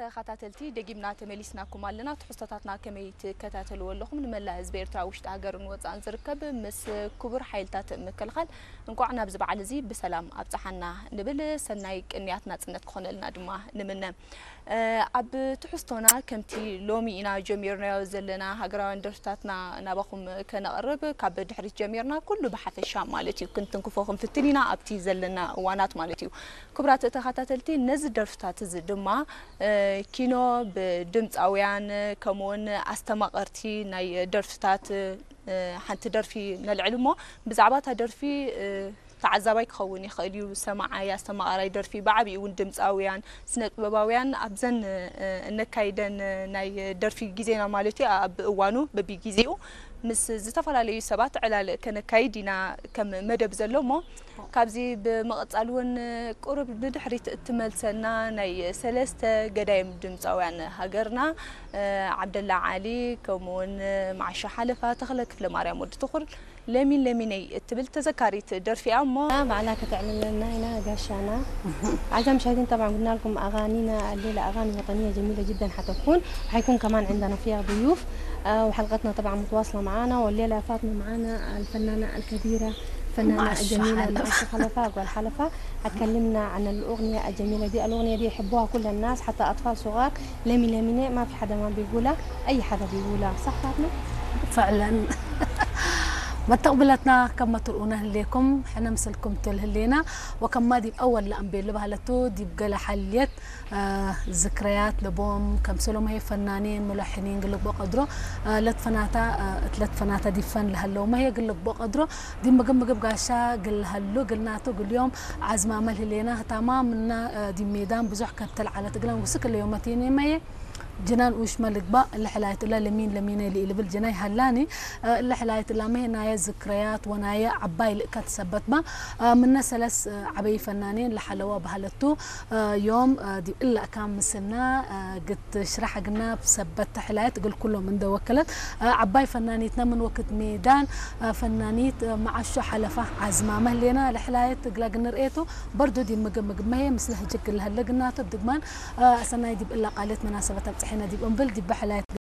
ተኸታተልቲ፣ ደጊምና ተመሊስናኩም ኣለና። ትሕዝቶታትና ከመይ ትከታተልዎ ኣለኹም? ንመላእ ህዝቢ ኤርትራ፣ ውሽጢ ሃገርን ወጻእን ዝርከብ፣ ምስ ክቡር ሓይልታት ምክልኻል እንቋዕ ናብዚ በዓል እዚ ብሰላም ኣብጽሓና ንብል። ሰናይ ቅንያት ናጽነት ክኾነልና ድማ ንምነ። እ፣ ኣብ ትሕዝቶና ከምቲ ሎሚ ኢና ጀሚርናዮ ዘለና ሃገራውያን ደርፍታትና ናባኹም ከነቕርብ ካብ ድሕሪት ጀሚርና ኩሉ ብሓፈሻ ማለት እዩ ክንትንክፎ ክንፍትን ኢና ኣብቲ ዘለና እዋናት ማለት እዩ። ክቡራት ተኸታተልቲ፣ ነዚ ደርፍታት እዚ ድማ፣ እ፣ ኪኖ ብድምፃውያን ከምኡውን ኣስተማቐርቲ ናይ ደርፍታት፣ እ፣ ሓንቲ ደርፊ ነልዕል እሞ ብዛዕባ እታ ደርፊ፣ እ፣ ተዓዛባይ ክኸውን ይኽእል እዩ፣ ሰማዓይ፣ ኣስተማቓራይ ደርፊ፣ ብዓብኡ እውን ድምፃውያን፣ ስነ ጥበባውያን ኣብዘን፣ እ፣ እነካይደን ናይ ደርፊ ግዜና ማለት እዩ፣ ኣብ እዋኑ በቢግዜኡ ምስ ዝተፈላለዩ ሰባት ዕላል ከነካይድ ኢና ከም መደብ ዘሎ እሞ፣ ካብዚ ብምቕጻል እውን ቁሩብ ንድሕሪት እትመልሰና ናይ ሰለስተ ገዳይም ድምፃውያን ሃገርና፣ እ፣ ዓብደላ ዓሊ፣ ከምኡውን መዓሾ ሓለፋ፣ ተኽለ ክፍለ ማርያም ወዲ ትኹል፣ ለሚን ለሚነይ እትብል ተዘካሪት ደርፊ እያ እሞ፣ ባዕላ ከተዕልለና ኢና ጋሻና። أعزائي المشاهدين، طبعا قلنا لكم أغانينا الليلة أغاني وطنية جميلة جدا حتكون، وحيكون كمان عندنا فيها ضيوف. آه، وحلقتنا طبعا متواصلة معانا، والليلة يا فاطمة معانا الفنانة الكبيرة، الفنانة معشة الجميلة حلفة. معشة حلفة، أقوال حلفة، هتكلمنا عن الأغنية الجميلة دي. الأغنية دي يحبوها كل الناس، حتى أطفال صغار. لمي لمي ني، ما في حدا ما بيقولها، أي حدا بيقولها، صح فاطمة؟ فعلا. መተቕብለትና ከም መትርኡና ህሌኩም ሕነ ምስልኩም ትል ህሌና ወከማ ዲብ ኣወል ለኣንቤል ባህለቱ ዲብ ገለ ሓልየት ዝክረያት ለቦም ከም ሰሎማሄ ፈናኔን ሙለሕኒን ግልቦ ቀድሮ ለትፈናታ እትለትፈናታ ዲፈን ለሀለው መሄ ግልቦ ቀድሮ ዲብ ምግብ ምግብ ጋሻ ግልሀሉ ግልናቱ ግልዮም ዓዝማመል ህሌና ህታማ ምና ዲብ ሜዳን ብዙሕ ከብተል ዓለት እግለን ውስክ ለዮመቴን መየ ጅናን ኡሽመ ልግባእ እለ ሕላየት እላ ለሚን ለሚነ ኢሊ ኢልብል ጅናይ ሃላኒ እለ ሕላየት እላ መሄ ናየ ዝክረያት ወናየ ዓባይ ልእከት ሰበትባ ምነ ሰለስ ዓበይ ፈናኔን ለሓለዋ ባህለቱ ዮም ዲብ እላ እካ ምስልና ግት ሽራሕ ግና ሰበት ሕላየት እግል ኩሎም እንደወከለት ዓባይ ፈናኒትና ምን ወክት ሜዳን ፈናኒት መዓሾ ሓለፋ ዓዝማ መህሌና ለሕላየት እግላ ግንርእየቱ በርዱ ዲብ ምግብ ምግብ መሄ ምስለ ህጅግ ለህለ ግናቶ ድግማን ሰናይ ዲብ እላ ቃልየት መናሰበት ኣብጽሐና ዲብ እምብል ዲብ ሕላየት